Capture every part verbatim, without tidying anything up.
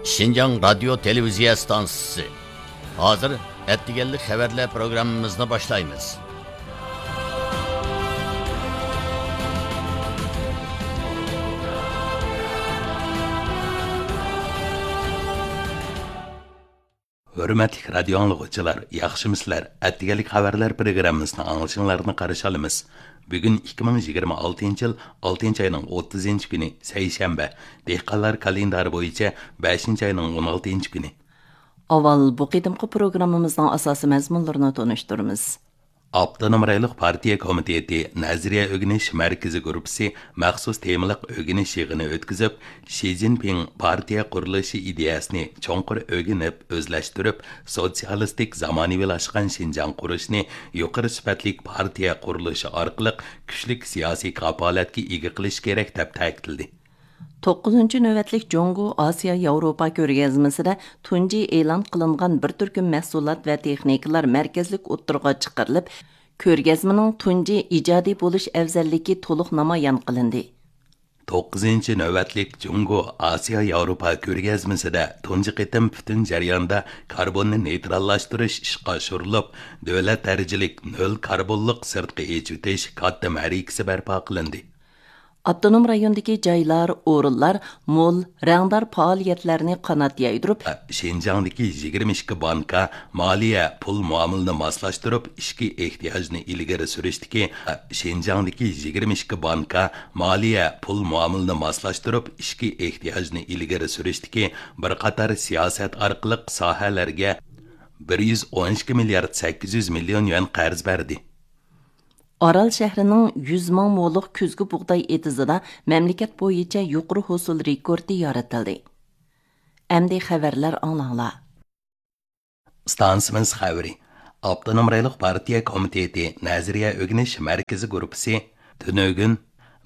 شىنجاڭ رادىيو تېلېۋىزىيە ئىستانسىسى. ھازىر ئەتىگەنلىك خەۋەرلەر پروگراممىمىزنى باشلايمىز. ھۆرمەتلىك رادىيو ئاڭلىغۇچىلار، ياخشىمۇسىلەر؟ ئەتىگەنلىك خەۋەرلەر پروگراممىسىنىڭ ئاڭلىشىڭلارنى قارشى ئالىمىز. بۈگۈن ئىككى مىڭ يىگىرمە ئالتىنچى يىل ئالتىنچى ئاينىڭ ئوتتۇزىنچى كۈنى، سەيشەنبە، دېھقانلار كالېندارى بويىچە بەشىنچى ئاينىڭ ئون ئالتىنچى كۈنى. ئاۋۋال بۇ قېتىمقى پروگراممىمىزنىڭ ئاساسىي مەزمۇنلىرىنى تونۇشتۇرىمىز. ئاپتونوم رايونلۇق پارتىيە كومىتېتى نەزەرىيە ئۆگىنىش مەركىزى گۇرۇپپىسى مەخسۇس تېمىلىق ئۆگىنىش يىغىنى ئۆتكۈزۈپ، شى جىنپىڭ پارتىيە قۇرۇلۇشى ئىدىيەسىنى چوڭقۇر ئۆگىنىپ، ئۆزلەشتۈرۈپ، سوتسىيالىستىك زامانىۋىلاشقان شىنجاڭ قۇرۇشنى يۇقىرى سۈپەتلىك پارتىيە قۇرۇلۇشى ئارقىلىق كۈچلۈك سىياسىي كاپالەتكە ئىگە قىلىش كېرەك، دەپ تەكىتلىدى. توققۇزىنچى نۆۋەتلىك جۇڭگو ئاسىيا ياۋروپا كۆرگەزمىسىدە تۇنجى ئېلان قىلىنغان بىر تۈركۈم مەھسۇلات ۋە تېخنىكىلار مەركەزلىك ئوتتۇرىغا چىقىرىلىپ، كۆرگەزمىنىڭ تۇنجى ئىجادىي بولۇش ئەۋزەللىكى تولۇق نامايان قىلىندى. توققۇزىنچى نۆۋەتلىك جۇڭگو ئاسىيا ياۋروپا كۆرگەزمىسىدە تۇنجى قېتىم پۈتۈن جەرياندا كاربوننى نېيتراللاشتۇرۇش ئىشقا ئاشۇرۇلۇپ، دۆلەت دەرىجىلىك نۆل كاربونلۇق سىرتقا ئېچىۋېتىش كاتتا مەرىكىسى بەرپا قىلىندى. ئاپتونوم رايوندىكى جايلار، ئورۇنلار مول، رەڭدار پائالىيەتلەرنى قانات يايدۇرۇپ، شىنجاڭدىكى يىگىرمە ئىككى بانكا مالىيە پۇل مۇئامىلىنى ماسلاشتۇرۇپ، ئىچكى ئېھتىياجنى ئىلگىرى سۈرۈشتىكى، شىنجاڭدىكى يىگىرمە ئىككى بانكا مالىيە پۇل مۇئامىلىنى ماسلاشتۇرۇپ، ئىچكى ئېھتىياجنى ئىلگىرى سۈرۈشتىكى بىر قاتار سىياسەت ئارقىلىق ساھەلەرگە بىر يۈز ئون ئىككى مىليارد سەككىز يۈز مىليون يۈەن قەرز بەردى. ئارال شەھىرىنىڭ يۈز مىڭ مولۇق كۈزگى بۇغداي ئېتىزىدا مەملىكەت بويىچە يۇقىرى ھوسۇل رېكورتى يارىتىلدى. ئەمدى خەۋەرلەر ئاڭلاڭلار. ئىستانسىمىز خەۋىرى. ئاپتونوم رايونلۇق پارتىيە كومىتېتى نەزەرىيە ئۆگىنىش مەركىزى گۇرۇپپىسى تۈنۈگۈن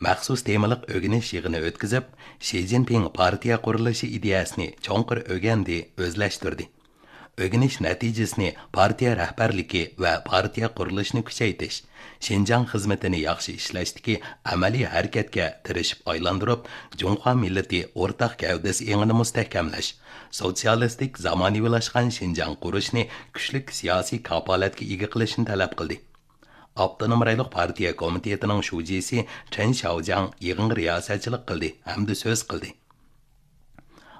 مەخسۇس تېمىلىق ئۆگىنىش يىغىنى ئۆتكۈزۈپ، شى جىنپىڭ پارتىيە قۇرۇلۇشى ئىدىيەسىنى چوڭقۇر ئۆگەندى، ئۆزلەشتۈردى. ئۆگىنىش نەتىجىسىنى پارتىيە رەھبەرلىكى ۋە پارتىيە قۇرۇلۇشىنى كۈچەيتىش، شىنجاڭ خىزمىتىنى ياخشى ئىشلەشتىكى ئەمەلىي ھەرىكەتكە تىرىشىپ ئايلاندۇرۇپ، جۇڭخۇا مىللىتى ئورتاق گەۋدىسى ئېڭىنى مۇستەھكەملەش، سوتسىيالىستىك زامانىۋىلاشقان شىنجاڭ قۇرۇشنى كۈچلۈك سىياسىي كاپالەتكە ئىگە قىلىشنى تەلەپ قىلدى. ئاپتونوم رايونلۇق پارتىيە كومىتېتىنىڭ شۇجىسى چېن شياۋجياڭ يىغىنغا رىياسەتچىلىك قىلدى ھەمدە سۆز قىلدى.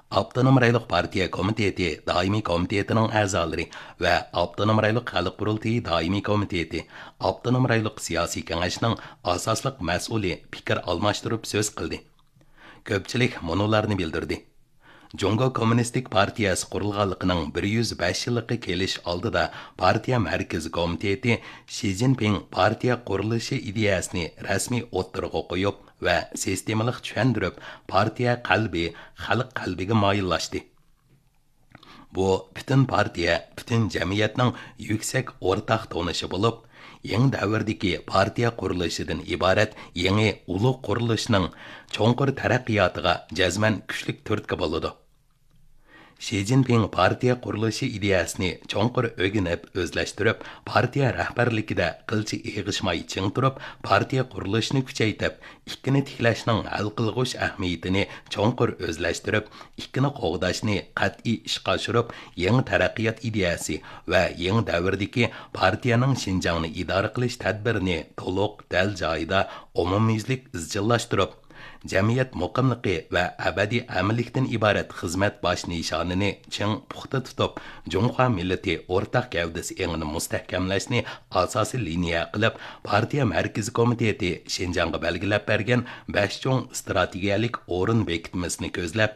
ئاپتونوم رايونلۇق پارتىيە كومىتېتى دائىمىي كومىتېتىنىڭ ئەزالىرى ۋە ئاپتونوم رايونلۇق خەلق قۇرۇلتىيى دائىمىي كومىتېتى، ئاپتونوم رايونلۇق سىياسىي كېڭەشنىڭ ئاساسلىق مەسئۇلى پىكىر ئالماشتۇرۇپ سۆز قىلدى. كۆپچىلىك مۇنۇلارنى بىلدۈردى. جۇڭگو كوممۇنىستىك پارتىيەسى قۇرۇلغانلىقىنىڭ بىر يۈز بەش يىللىقى كېلىش ئالدىدا پارتىيە مەركىزىي كومىتېتى شى جىنپىڭ پارتىيە قۇرۇلۇشى ئىدىيەسىنى رەسمىي ئوتتۇرىغا قويۇپ ۋە سىستېمىلىق چۈشەندۈرۈپ، پارتىيە قەلبى خەلق قەلبىگە مايىللاشتى. بۇ پۈتۈن پارتىيە، پۈتۈن جەمئىيەتنىڭ يۈكسەك ئورتاق تونۇشى بولۇپ، يېڭى دەۋردىكى پارتىيە قۇرۇلۇشىدىن ئىبارەت يېڭى ئۇلۇغ قۇرۇلۇشنىڭ چوڭقۇر تەرەققىياتىغا جەزمەن كۈچلۈك تۈرتكە بولىدۇ. شى جىنپىڭ پارتىيە قۇرۇلۇشى ئىدىيەسىنى چوڭقۇر ئۆگىنىپ، ئۆزلەشتۈرۈپ، پارتىيە رەھبەرلىكىدە قىلچە ئېغىشماي چىڭ تۇرۇپ، پارتىيە قۇرۇلۇشىنى كۈچەيتىپ، ئىككىنى تىكلەشنىڭ ھەل قىلغۇچ ئەھمىيىتىنى چوڭقۇر ئۆزلەشتۈرۈپ، ئىككىنى قوغداشنى قەتئىي ئىشقا ئاشۇرۇپ، يېڭى تەرەققىيات ئىدىيەسى ۋە يېڭى دەۋردىكى پارتىيەنىڭ شىنجاڭنى ئىدارە قىلىش تەدبىرىنى تولۇق، دەل جايىدا، ئومۇميۈزلۈك ئىزچىللاشتۇرۇپ، جەمئىيەت مۇقىملىقى ۋە ئەبەدىي ئەمىنلىكتىن ئىبارەت خىزمەت باش نىشانىنى چىڭ پۇختا تۇتۇپ، جۇڭخۇا مىللىتى ئورتاق گەۋدىسى ئېڭىنى مۇستەھكەملەشنى ئاساسىي لىنىيە قىلىپ، پارتىيە مەركىزىي كومىتېتى شىنجاڭغا بەلگىلەپ بەرگەن بەش چوڭ ئىستراتېگىيەلىك ئورۇن بېكىتمىسىنى كۆزلەپ،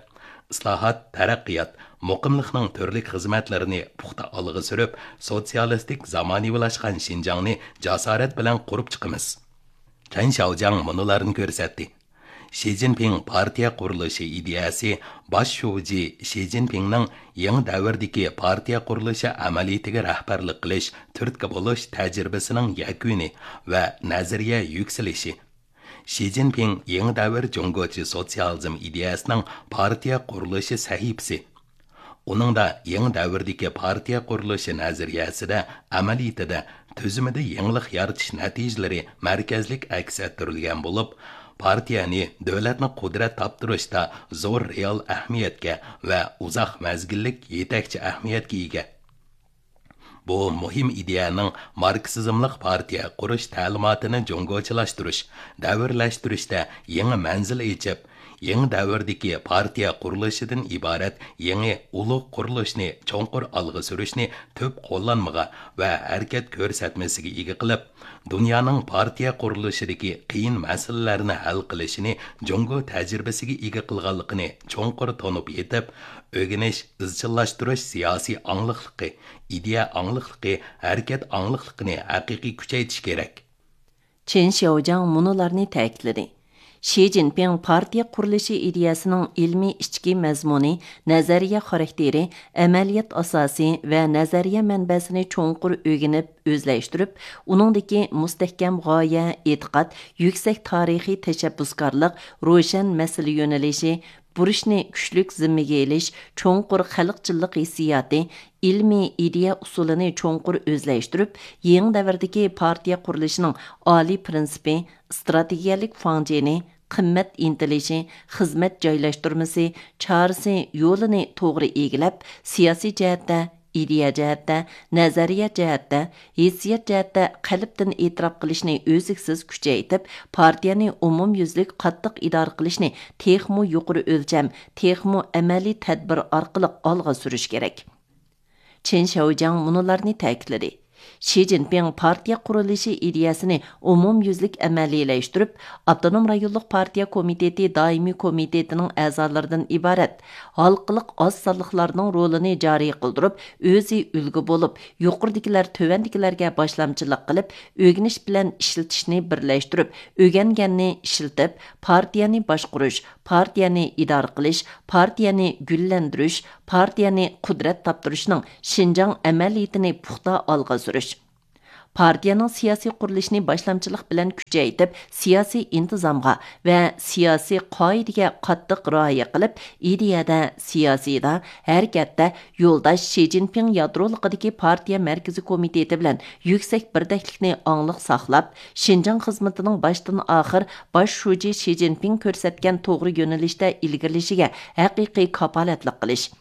ئىسلاھات، تەرەققىيات، مۇقىملىقنىڭ تۈرلۈك خىزمەتلىرىنى پۇختا ئالغا سۈرۈپ، سوتسىيالىستىك زامانىۋىلاشقان شىنجاڭنى جاسارەت بىلەن قۇرۇپ چىقىمىز. چەن شياۋجياڭ مۇنۇلارنى كۆرسەتتى. شى جىنپىڭ پارتىيە قۇرۇلۇشى ئىدىيەسى باش شۇجى شى جىنپىڭنىڭ يېڭى دەۋردىكى پارتىيە قۇرۇلۇشى ئەمەلىيىتىگە رەھبەرلىك قىلىش، تۈرتكە بولۇش تەجرىبىسىنىڭ يەكۈنى ۋە نەزەرىيە يۈكسىلىشى. شى جىنپىڭ يېڭى دەۋر جۇڭگوچە سوتسىيالىزم ئىدىيەسىنىڭ پارتىيە قۇرۇلۇشى سەھىپىسى. ئۇنىڭدا يېڭى دەۋردىكى پارتىيە قۇرۇلۇشى نەزەرىيەسىدە، ئەمەلىيىتىدە، تۈزۈمىدە يېڭىلىق يارىتىش نەتىجىلىرى مەركەزلىك ئەكس ئەتتۈرۈلگەن بولۇپ، پارتىيەنى دۆلەتنى قۇدرەت تاپتۇرۇشتا زور رېئال ئەھمىيەتكە ۋە ئۇزاق مەزگىللىك يېتەكچى ئەھمىيەتكە ئىگە. بۇ مۇھىم ئىدىيەنىڭ ماركسىزملىق پارتىيە قۇرۇش تەلىماتىنى جۇڭگوچىلاشتۇرۇش، دەۋرلەشتۈرۈشتە يېڭى مەنزىل ئېچىپ، يېڭى دەۋردىكى پارتىيە قۇرۇلۇشىدىن ئىبارەت يېڭى ئۇلۇغ قۇرۇلۇشنى چوڭقۇر ئالغا سۈرۈشنى تۈپ قوللانمىغا ۋە ھەرىكەت كۆرسەتمىسىگە ئىگە قىلىپ، دۇنيانىڭ پارتىيە قۇرۇلۇشىدىكى قىيىن مەسىلىلەرنى ھەل قىلىشىنى جۇڭگو تەجرىبىسىگە ئىگە قىلغانلىقىنى چوڭقۇر تونۇپ يېتىپ، ئۆگىنىش، ئىزچىللاشتۇرۇش سىياسىي ئاڭلىقلىقى، ئىدىيە ئاڭلىقلىقى، ھەرىكەت ئاڭلىقلىقىنى ھەقىقىي كۈچەيتىش كېرەك. چېن شياۋجياڭ مۇنۇلارنى تەكىتلىدى: شى جىنپىڭ پارتىيە قۇرۇلۇشى ئىدىيەسىنىڭ ئىلمىي ئىچكى مەزمۇنى، نەزەرىيە خاراكتېرى، ئەمەلىيەت ئاساسى ۋە نەزەرىيە مەنبەسىنى چوڭقۇر ئۆگىنىپ، ئۆزلەشتۈرۈپ، ئۇنىڭدىكى مۇستەھكەم غايە، ئېتىقاد، يۈكسەك تارىخىي تەشەببۇسكارلىق، روشەن مەسىلە يۆنىلىشى، بۇرچنى كۈچلۈك زىممىگە ئېلىش، چوڭقۇر خەلقچىللىق ھېسسىياتى، ئىلمىي ئىدىيە ئۇسۇلىنى چوڭقۇر ئۆزلەشتۈرۈپ، يېڭى دەۋردىكى پارتىيە قۇرۇلۇشىنىڭ ئالىي پىرىنسىپى، ئىستراتېگىيەلىك فاڭجېنى، قىممەت ئىنتىلىشى، خىزمەت جايلاشتۇرمىسى، چارىسى، يولىنى توغرا ئىگىلەپ، سىياسىي جەھەتتە، ئىدىيە جەھەتتە، نەزەرىيە جەھەتتە، ھېسسىيات جەھەتتە قەلبتىن ئېتىراپ قىلىشنى ئۈزلۈكسىز كۈچەيتىپ، پارتىيەنى ئومۇميۈزلۈك قاتتىق ئىدارە قىلىشنى تېخىمۇ يۇقىرى ئۆلچەم، تېخىمۇ ئەمەلىي تەدبىر ئارقىلىق ئالغا سۈرۈش كېرەك. چېن شياۋجياڭ مۇنۇلارنى تەكىتلىدى: شى جىنپىڭ پارتىيە قۇرۇلۇشى ئىدىيەسىنى ئومۇميۈزلۈك ئەمەلىيلەشتۈرۈپ، ئاپتونوم رايونلۇق پارتىيە كومىتېتى دائىمىي كومىتېتىنىڭ ئەزالىرىدىن ئىبارەت ھالقىلىق ئاز سانلىقلارنىڭ رولىنى جارى قىلدۇرۇپ، ئۆزى ئۈلگە بولۇپ، يۇقىرىدىكىلەر تۆۋەندىكىلەرگە باشلامچىلىق قىلىپ، ئۆگىنىش بىلەن ئىشلىتىشنى بىرلەشتۈرۈپ، ئۆگەنگەننى ئىشلىتىپ، پارتىيەنى باشقۇرۇش، پارتىيەنى ئىدارە قىلىش، پارتىيەنى گۈللەندۈرۈش، پارتىيەنى قۇدرەت تاپتۇرۇشنىڭ شىنجاڭ ئەمەلىيىتىنى پۇختا ئالغا سۈرۈش. پارتىيەنىڭ سىياسىي قۇرۇلۇشىنى باشلامچىلىق بىلەن كۈچەيتىپ، سىياسىي ئىنتىزامغا ۋە سىياسىي قائىدىگە قاتتىق رىئايە قىلىپ، ئىدىيەدە، سىياسىيدا، ھەرىكەتتە يولداش شى جىنپىڭ يادرولۇقىدىكى پارتىيە مەركىزىي كومىتېتى بىلەن يۈكسەك بىردەكلىكنى ئاڭلىق ساقلاپ، شىنجاڭ خىزمىتىنىڭ باشتىن ئاخىر باش شۇجى شى جىنپىڭ كۆرسەتكەن توغرا يۆنىلىشتە ئىلگىرىلىشىگە ھەقىقىي كاپالەتلىك قىلىش.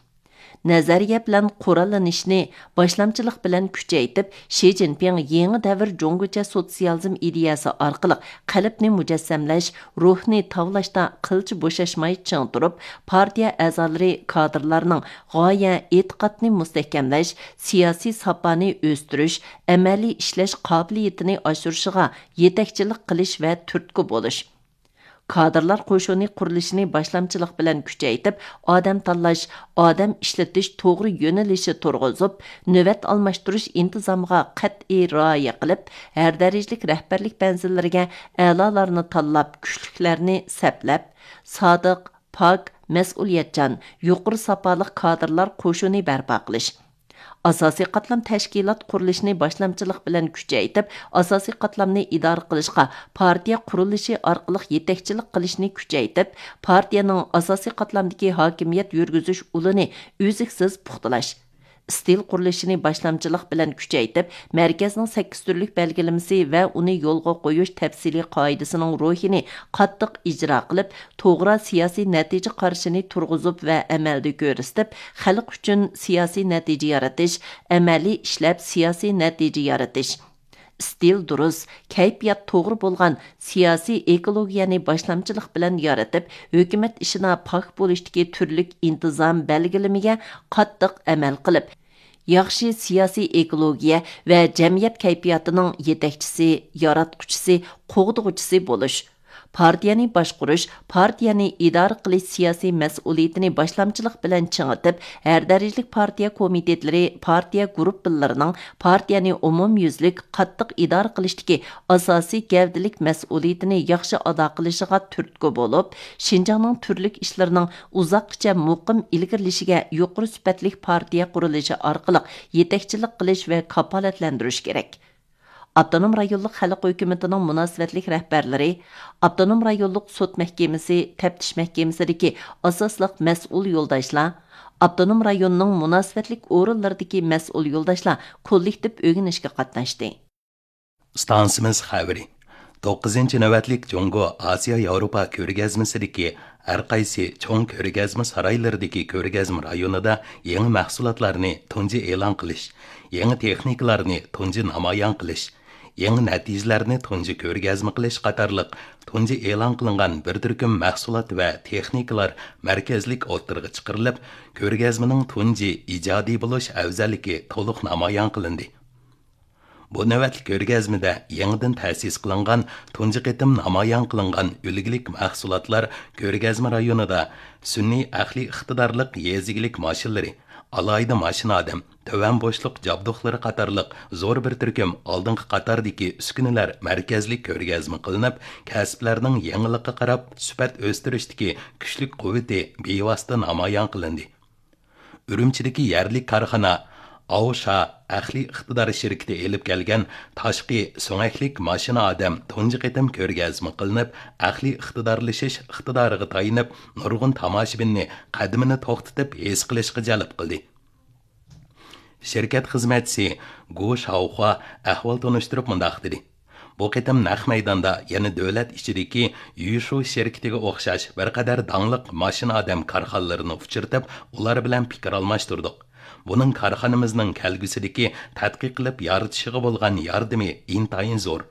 نەزەرىيە بىلەن قوراللىنىشنى باشلامچىلىق بىلەن كۈچەيتىپ، شى جىنپىڭ يېڭى دەۋر جۇڭگوچە سوتسىيالىزم ئىدىيەسى ئارقىلىق قەلبنى مۇجەسسەملەش، روھنى تاۋلاشتا قىلچە بوشاشماي چىڭ تۇرۇپ، پارتىيە ئەزالىرى، كادىرلارنىڭ غايە، ئېتىقادنى مۇستەھكەملەش، سىياسىي ساپانى ئۆستۈرۈش، ئەمەلىي ئىشلەش قابىلىيىتىنى ئاشۇرۇشىغا يېتەكچىلىك قىلىش ۋە تۈرتكە بولۇش. كادىرلار قوشۇنى قۇرۇلۇشىنى باشلامچىلىق بىلەن كۈچەيتىپ، ئادەم تاللاش، ئادەم ئىشلىتىش توغرا يۆنىلىشى تۇرغۇزۇپ، نۆۋەت ئالماشتۇرۇش ئىنتىزامىغا قەتئىي رىئايە قىلىپ، ھەر دەرىجىلىك رەھبەرلىك مەنزىللىرىگە ئەلالارنى تاللاپ، كۈچلۈكلەرنى سەپلەپ، سادىق، پاك، مەسئۇلىيەتچان، يۇقىرى ساپالىق كادىرلار قوشۇنى بەرپا قىلىش. ئاساسىي قاتلام تەشكىلات قۇرۇلۇشىنى باشلامچىلىق بىلەن كۈچەيتىپ، ئاساسىي قاتلامنى ئىدارە قىلىشقا پارتىيە قۇرۇلۇشى ئارقىلىق يېتەكچىلىك قىلىشنى كۈچەيتىپ، پارتىيەنىڭ ئاساسىي قاتلامدىكى ھاكىمىيەت يۈرگۈزۈش ئۇلىنى ئۈزلۈكسىز پۇختىلاش. ئىستىل قۇرۇلۇشىنى باشلامچىلىق بىلەن كۈچەيتىپ، مەركەزنىڭ سەككىز تۈرلۈك بەلگىلىمىسى ۋە ئۇنى يولغا قويۇش تەپسىلىي قائىدىسىنىڭ روھىنى قاتتىق ئىجرا قىلىپ، توغرا سىياسىي نەتىجە قارىشىنى تۇرغۇزۇپ ۋە ئەمەلدە كۆرسىتىپ، خەلق ئۈچۈن سىياسىي نەتىجە يارىتىش، ئەمەلىي ئىشلەپ سىياسىي نەتىجە يارىتىش. ئىستىل دۇرۇس، كەيپىيات توغرا بولغان سىياسىي ئېكولوگىيەنى باشلامچىلىق بىلەن يارىتىپ، ھۆكۈمەت ئىشىدا پاك بولۇشتىكى تۈرلۈك ئىنتىزام بەلگىلىمىگە قاتتىق ئەمەل قىلىپ، ياخشى سىياسىي ئېكولوگىيە ۋە جەمئىيەت كەيپىياتىنىڭ يېتەكچىسى، ياراتقۇچىسى، قوغدىغۇچىسى بولۇش. پارتىيەنى باشقۇرۇش، پارتىيەنى ئىدارە قىلىش سىياسىي مەسئۇلىيىتىنى باشلامچىلىق بىلەن چىڭىتىپ، ھەر دەرىجىلىك پارتىيە كومىتېتلىرى، پارتىيە گۇرۇپپىلىرىنىڭ پارتىيەنى ئومۇميۈزلۈك قاتتىق ئىدارە قىلىشتىكى ئاساسىي گەۋدىلىك مەسئۇلىيىتىنى ياخشى ئادا قىلىشىغا تۈرتكە بولۇپ، شىنجاڭنىڭ تۈرلۈك ئىشلىرىنىڭ ئۇزاققىچە مۇقىم ئىلگىرىلىشىگە يۇقىرى سۈپەتلىك پارتىيە قۇرۇلۇشى ئارقىلىق يېتەكچىلىك قىلىش ۋە كاپالەتلەندۈرۈش كېرەك. ئاپتونوم رايونلۇق خەلق ھۆكۈمىتىنىڭ مۇناسىۋەتلىك رەھبەرلىرى، ئاپتونوم رايونلۇق سوت مەھكىمىسى، تەپتىش مەھكىمىسىدىكى ئاساسلىق مەسئۇل يولداشلار، ئاپتونوم رايوننىڭ مۇناسىۋەتلىك ئورۇنلىرىدىكى مەسئۇل يولداشلار كوللېكتىپ ئۆگىنىشكە قاتناشتى. ئىستانسىمىز خەۋىرى. توققۇزىنچى نۆۋەتلىك جۇڭگو ئاسىيا ياۋروپا كۆرگەزمىسىدىكى ھەر قايسى چوڭ كۆرگەزمە سارايلىرىدىكى كۆرگەزمە رايونىدا يېڭى مەھسۇلاتلارنى تۇنجى ئېلان قىلىش، يېڭى تېخنىكىلارنى تۇنجى نامايان قىلىش، يېڭى نەتىجىلەرنى تۇنجى كۆرگەزمە قىلىش قاتارلىق تۇنجى ئېلان قىلىنغان بىر تۈركۈم مەھسۇلات ۋە تېخنىكىلار مەركەزلىك ئوتتۇرىغا چىقىرىلىپ، كۆرگەزمىنىڭ تۇنجى ئىجادىي بولۇش ئەۋزەللىكى تولۇق نامايان قىلىندى. بۇ نۆۋەتلىك كۆرگەزمىدە يېڭىدىن تەسىس قىلىنغان، تۇنجى قېتىم نامايان قىلىنغان ئۈلگىلىك مەھسۇلاتلار كۆرگەزمە رايونىدا سۈنئىي ئەقلىي ئىقتىدارلىق يېزا ئىگىلىك ماشىنىلىرى، ئالاھىدە ماشىنا ئادەم، تۆۋەن بوشلۇق جابدۇقلىرى قاتارلىق زور بىر تۈركۈم ئالدىنقى قاتاردىكى ئۈسكۈنىلەر مەركەزلىك كۆرگەزمە قىلىنىپ، كەسىپلەرنىڭ يېڭىلىققا قاراپ سۈپەت ئۆستۈرۈشتىكى كۈچلۈك قۇۋۋىتى بىۋاسىتە نامايان قىلىندى. ئۈرۈمچىدىكى يەرلىك كارخانا ئاۋشا ئەقلىي ئىقتىدار شىركىتى ئېلىپ كەلگەن تاشقى سۆڭەكلىك ماشىنا ئادەم تۇنجى قېتىم كۆرگەزمە قىلىنىپ، ئەقلىي ئىقتىدارلىشىش ئىقتىدارىغا تايىنىپ، نۇرغۇن تاماشىبىننى قەدىمىنى توختىتىپ ھېس قىلىشقا جەلپ قىلدى. شىركەت خىزمەتچىسى گۇ شاۋخۇا ئەھۋال تونۇشتۇرۇپ مۇنداق دېدى: بۇ قېتىم نەق مەيداندا يەنە دۆلەت ئىچىدىكى يۈشۇ شىركىتىگە ئوخشاش بىر قەدەر داڭلىق ماشىنا ئادەم كارخانىلىرىنى ئۇچرىتىپ، ئۇلار بىلەن پىكىر ئالماشتۇردۇق. بۇنىڭ كارخانىمىزنىڭ كەلگۈسىدىكى تەتقىق قىلىپ يارىتىشىغا بولغان ياردىمى ئىنتايىن زور.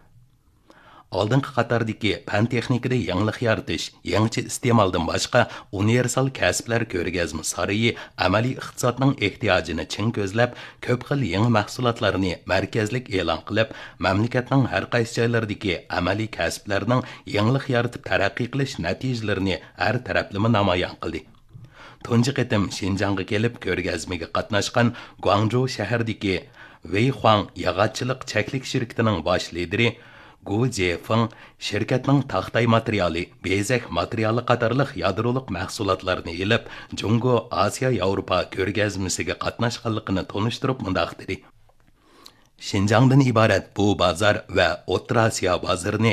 ئالدىنقى قاتاردىكى پەن تېخنىكىدا يېڭىلىق يارىتىش، يېڭىچە ئىستېمالدىن باشقا ئۇنىۋېرسال كەسىپلەر كۆرگەزمە سارىيى ئەمەلىي ئىقتىسادنىڭ ئېھتىياجىنى چىڭ كۆزلەپ، كۆپ خىل يېڭى مەھسۇلاتلارنى مەركەزلىك ئېلان قىلىپ، مەملىكەتنىڭ ھەر قايسى جايلىرىدىكى ئەمەلىي كەسىپلەرنىڭ يېڭىلىق يارىتىپ تەرەققىي قىلىش نەتىجىلىرىنى ھەر تەرەپلىمە نامايان قىلدى. تۇنجى قېتىم شىنجاڭغا كېلىپ كۆرگەزمىگە قاتناشقان گۇاڭجۇ شەھىرىدىكى ۋېيخۇاڭ ياغاچچىلىق چەكلىك شىركىتىنىڭ باش لىدىرى گۇ جيېفېڭ شىركەتنىڭ تاختاي ماتېرىيالى، بېزەك ماتېرىيالى قاتارلىق يادرولۇق مەھسۇلاتلارنى ئېلىپ، جۇڭگو ئاسىيا ياۋروپا كۆرگەزمىسىگە قاتناشقانلىقىنى تونۇشتۇرۇپ مۇنداق دېدى: شىنجاڭدىن ئىبارەت بۇ بازار ۋە ئوتتۇرا ئاسىيا بازىرىنى